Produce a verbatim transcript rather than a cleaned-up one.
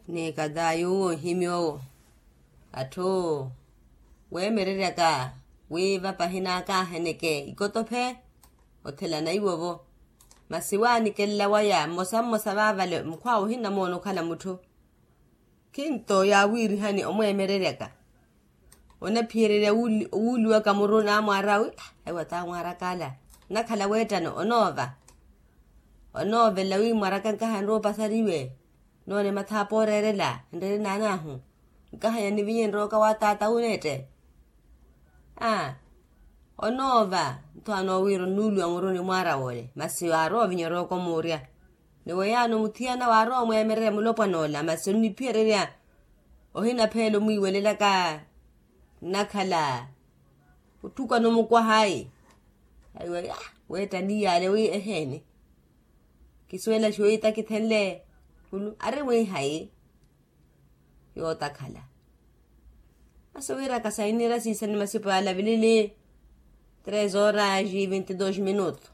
Ni kata yuwo nhimi owo atthu weemereryaka wi vapahi naakaaheneke ikotophe. Othelana iwo-vo masi waanikelela waya mmosa mmosa vaavale mukhw'awe ohinnamoona okhala mutthu. Khinto yaawiirihani omweemereryaka onaphiyererya owuuliwaka muru naamwaara wi aiwa taamwaaraka ala nnakhala weettano onoova. Onoovela wi mwaraka nkaha nrowa opasariwe noone mathaapo ooreerela nreere naan'ahu. Nkaha nyanivinye nrooka wa taata wuneette. Aa onoova ntho anoowiira onnuuliwa muru ni mwaara woole masi waarowa ovinya orooka omuurya. Ni weyaano muthiyana waarowa omweemererya mulopwan'ola masi onniphiyererya ohinapheela omwiiwelelaka. Nnakhala otthukwana omukwaha ayi aiwa weetta niyaale wi eheeni. Kisuwela xuwi takithenle khulu ari mwiihayi. Yootakhala masi owiiraka sainiira siisani masipo yaalavilili. Tres horas e vinte dos minutos.